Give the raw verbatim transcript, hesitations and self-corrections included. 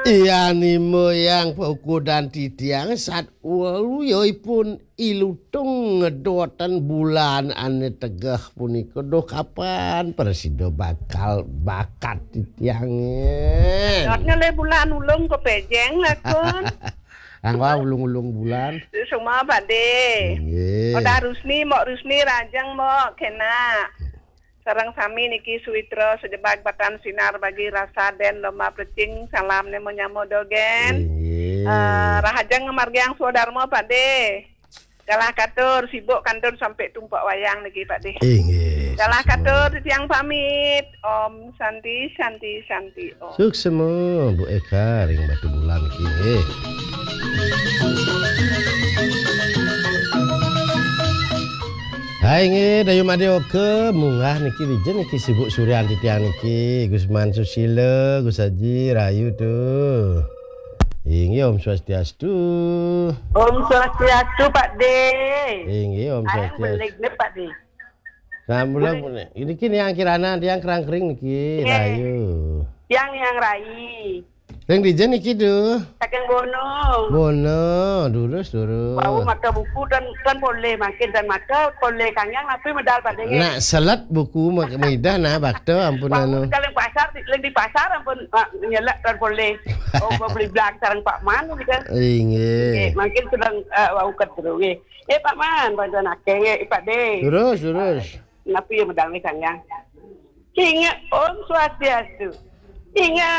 Iya nimo yang paukudan titiang sat walu yoipun ilutung ngedoten bulan ane tegeh punika. Duh, kapan prasida bakal bakat titiange? Dotnya le bulan ulung kepejeng lakon. Angwa ulung-ulung bulan. Semua Pak De. Nggih. Odah Rusni, Mok Rusni, Rajeng, Mok, kena. Sareng sami niki Suwitra Sejebag Batan Sinar bagi rasa den lomba plecing salam nemo nyamo dogen. Inggih. Eh, rahajeng ngamargiang swadarma Pak De. Galah katur sibuk kantun sampai tumpak wayang niki Pak De. Inggih. Galah katur titiang pamit. Om Santi Santi Santi Om. Suksma Bu Eka ring Batu Bulan niki. Hai nggih, Dayu Madya Oka, munggah niki dija niki sibuk suryan titiang niki. Gusman Susila, Gus Aji, rahayu tuh. Inggih, Om Swastiastu. Om Swastiastu, Pak De. Inggih, Om Ayang Swastiastu. Beleg ne, Pak De. Nah, mula ini kini yang kirana, yang kerang kering niki, Nggih. Rahayu. Yang yang rai. Ring dija niki, duh? Saking Bono. Bono, durus, durus. Wau maka buku dan, dan polih, makin dan maka polih kangkang napi medal pada nggih. Nak selet buku mak-, midah nah bakta ampun Wau anu. Kalau pasar, di, di pasar ampun, ah, nyelek dan polih. Oh, mau beli belang sareng Pak Man gitu. Inggih. Nggih, makin sedang, eh, wau kedru nggih. Eh, Pak Man, bantuan akeh nggih, Pak De. Durus, durus. Napi ya medal nih kangkang. Ingat Om Swastiastu. Ingat